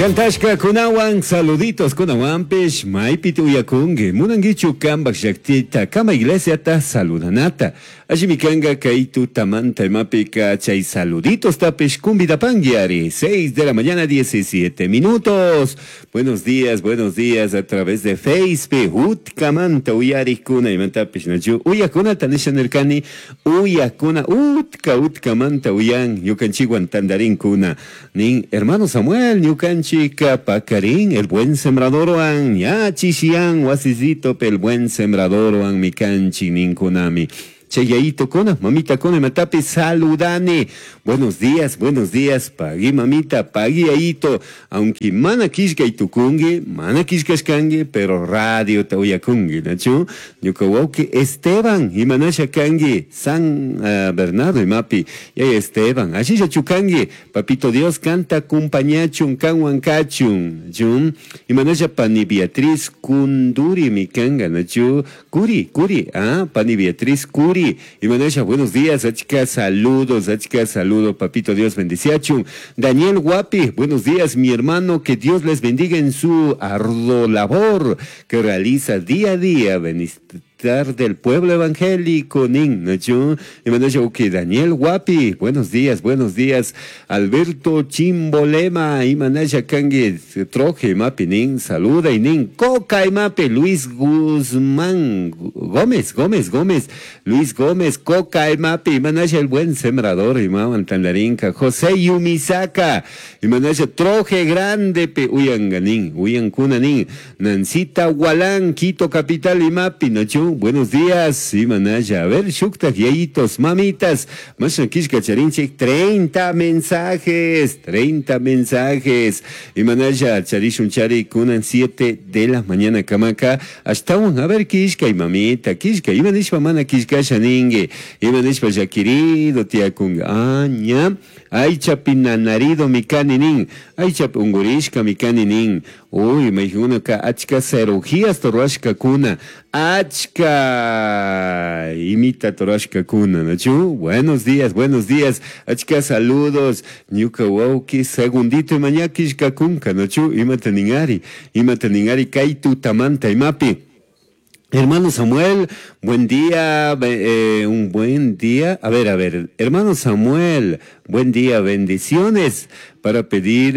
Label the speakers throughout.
Speaker 1: Cantashkakunawan saluditos kunawanpish maypi uyakunki munankichu kambak llaktita kama iglesiata saludanata allimi kanka kay tutamanta imapika chay saluditos tapish convidapanki ari. 6 de la mañana, 17 minutos. Buenos días a través de Facebook. Utkamanta uyarikuna imantapish nachu uyakunata nisha nirkani uyakuna utka utkamanta uyan ñukanchikwan tantarinkuna nin hermano Samuel ñukanchika pakarin el buen sembradorwan ña chishiyan wasisito el buen sembradorwan mikanchik ninkunami. Chayayito kuna, mamita kuna, matapi saludane. Buenos días, pagui mamita, pagui ayito. Aunque mana kishka itukungi, mana kishkashkangi, pero radio ta uyakungi, nachu? Ñuka wawki Esteban, imanasha kangi, San Bernardo imapi, yaya Esteban, ashisha chukangi, papito Dios canta kumpañachun, kanwan kachun, chun, imanasha pani Beatriz Kunduri mi kanga, nachu? Curi, Curi, pani Beatriz Curi, imanasha, buenos días, achka saludos, achka saludos, papito Dios bendiciachun. Daniel Guapi, buenos días, mi hermano, que Dios les bendiga en su arduo labor que realiza día a día, bienestar del pueblo evangélico, nin, nachu? Imanasha, ok, Daniel Guapi, buenos días, buenos días, Alberto Chimbolema, imanasha kangi, troje, mapi, nin, saluda, y nin, coca, mapi, Luis Guzmán, Gómez, Gómez, Gómez, Luis Gómez, coca, mapi, imanasha, el buen sembrador, imawan, tandarinka, José Yumisaka, imanasha, troje grande, pe, uyanganin, uyankuna, nin, Nancita Gualán, Quito capital, imapi, nachu? Buenos días, imanasha, a ver, shuktak, yayitos, mamitas, masha kishka charinchik, 30 mensajes, 30 mensajes, imanasha, charishun chari, kunan 7 de la mañana, kamaka, hasta un, a ver, kishka y mamita, kishka, imanishpa mana kishka shaningue, imanishpa yakirido, tiakunga, ña, ay chapinanarido mikaninin, ay chap ungurishka mikaninin, uy, me ka achka cirugías torashka kuna, achka imita torashka kuna, ¿nachu? Buenos días, buenos días, achka saludos, ñuka wauki, segundito y mañakishka kunka, ¿nachu? Imata ningari, imata ningari, kaitu tamanta imapi. Hermano Samuel, buen día, un buen día. A ver, hermano Samuel, buen día, bendiciones. Para pedir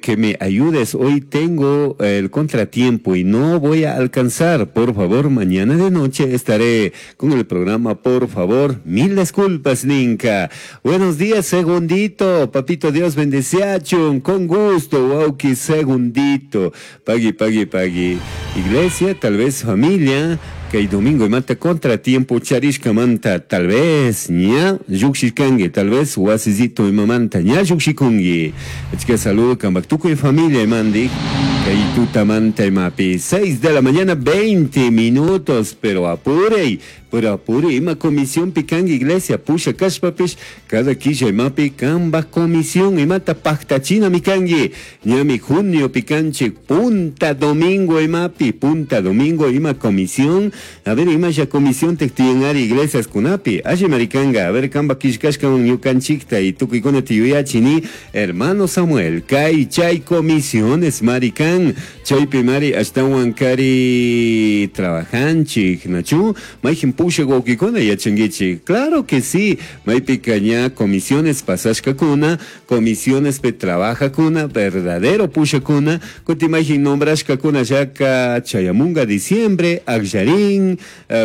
Speaker 1: que me ayudes, hoy tengo el contratiempo y no voy a alcanzar. Por favor, mañana de noche estaré con el programa, por favor. Mil disculpas, Ninka. Buenos días, segundito. Papito Dios bendeciachun, con gusto, wauki, segundito. Pagui, pagui, pagui. Iglesia, tal vez familia. Que el domingo y mata contratiempo charishka manta, tal vez ña yukshikangi, tal vez wasizito y mamanta ña yukshikungi. Es que saludo kambaktuco y familia y mandi, que manta y mapi. 6 de la mañana, 20 minutos, pero apure, ima comisión picangi iglesia, pusha kashpapish, cada quilla y mapi, kamba comisión y mata pactachina mikangi, ñami junio picanche, punta domingo y mapi, punta domingo ima comisión. A ver, ima ya comisión tectienari iglesias kunapi, aye maricanga, a ver, kamba kishkashka un ñukanchikta y tukikuna tiyuyachini, hermano Samuel, kai chay comisiones maricán, chaypi mari ashtawan kari trabajanchik, nachu, maijin pusha wawkikuna yachankichik, claro que sí, maypi ña comisiones pasashkakuna, comisiones pe trabajakuna, verdadero pushakuna, kuti mayjin nombrashkakuna yaka chayamunga diciembre, akllarin,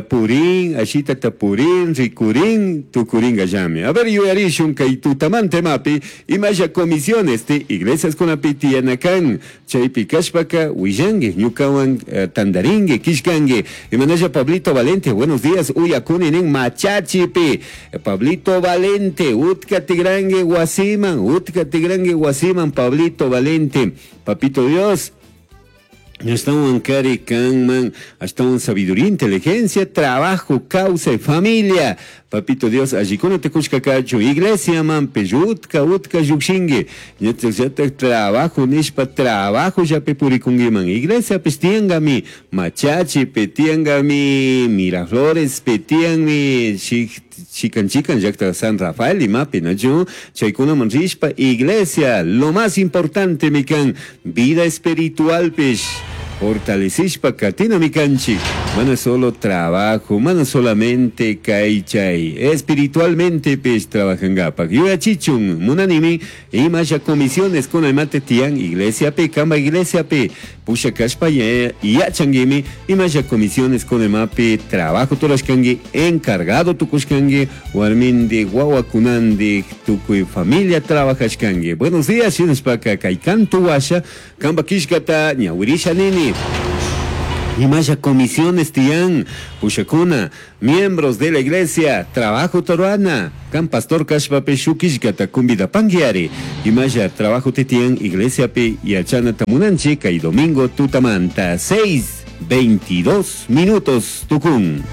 Speaker 1: purín, ashita tapurín, ricurín, tucurín gallame. A ver, yuyarishun kay tutamante mapi, imaya comisiones te iglesias kunapi tiyanakan, chaypi kashpaka, willangue, ñukawan tandaringue, kishkangue. Imanaya Pablito Valente, buenos días, uyakuninin machachipi. Pablito Valente, utka tigrangue guasiman, utka tigrangue guasiman, Pablito Valente, papito Dios. Ashtawan kari kanman, ashtawan sabiduría, inteligencia, trabajo, causa y familia. Papito Dios allikunata kushka kachun iglesiamanpish utka utka llukshinki ñachallatak trabajo nishpa trabajollapi purikunkiman iglesiapish tiyankami Machachipi tiyankami Miraflorespi tiyanmi chikan chikan llakta San Rafael imapi nachu chaykunaman rishpa iglesia lo más importantemi kan vida espiritualpish fortalecishpa katinami kanchik mana solo trabajo mana solamente kay chay espiritualmentepish trabajankapak yuyachichun munanimi imasha comisiones kuna imate tiyan iglesiapi kamba iglesiapi pushakashpa yachankimi imasha comisiones kuna imapi trabajo turashkanki encargado tukushkanki warmindi wawakunandik tukuy familia trabajashkanki. Buenos días shinashpaka kay kantu washa kamba killkata ñawirisha nini. Imasha comisiones tiyan pushakuna miembros de la iglesia trabajo ruana kan pastor kashpapish shuk killkata convidapankiari imasha trabajo tiyan iglesiapi yachanata munanchik kay domingo tutamanta 6:22 minutos tukun.